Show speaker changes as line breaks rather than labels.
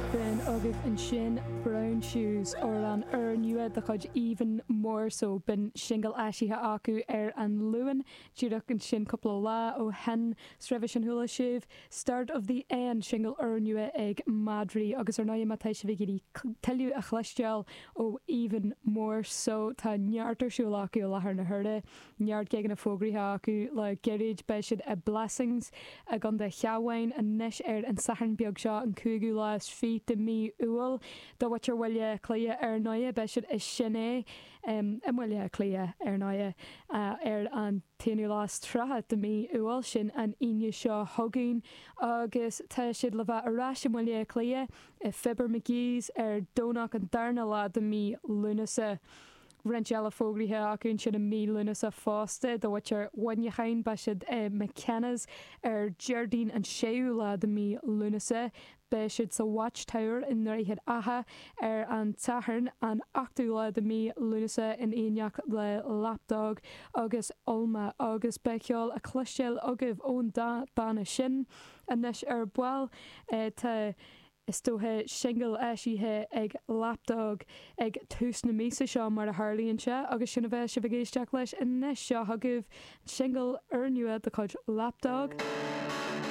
B'in agaibh ansin Brown Shoes, amhrán úrnua de chuid Even More So. B'in singil eisithe acu ar an Luan, díreach ansin cúpla lá ó shin. 'S roimhe sin chuala sibh Start of the End, singil úrnua ag Madraí. Agus ar ndóigh má tá sibh ag iarraidh tuilleadh a chloisteáil ó Even More So, tá neart ar siúl acu i láthair na huaire. Neart gigeanna fógraithe acu le gairid. Beidh siad i Blessings i gContae Chabháin anois ar an Satharn beag seo, an cúigiú lá is fiche de mhí Iúil. Do mhuintir Bhaile Átha Cliath ar ndóighe, beidh siad i Sin É i mBaile Átha Cliath ar ndóighe ar an t-aonú lá is 30 de mhí Iúil, sin an Aoine seo chugainn. Agus tá siad le bheith ar ais i mBaile Átha Cliath i Fibber McGee's ar Domhnach an darna lá de mhí Lúnasa. Roinnt eile fógraithe acu ansin i mí Lúnasa fosta. Do mhuintir Mhuineacháin, beidh siad i McKenna's ar Déardaoin an séú lá de mhí Lúnasa. Beidh siad sa Watchtower i nDroichead Átha ar an tSatharn an ochtú lá de mhí Lúnasa in éineacht le Lapdog agus Ulma agus beidh ceol á chloisteáil agaibh ón dá banna sin anois ar ball. Tá. Is dócha, singil eisithe ag Lapdog ag tús na míosa seo mar a tharlaíonn sé, agus sin a bheas sibh ag éisteacht leis anois. Seo chugaibh an singil úrnua de chuid Lapdog.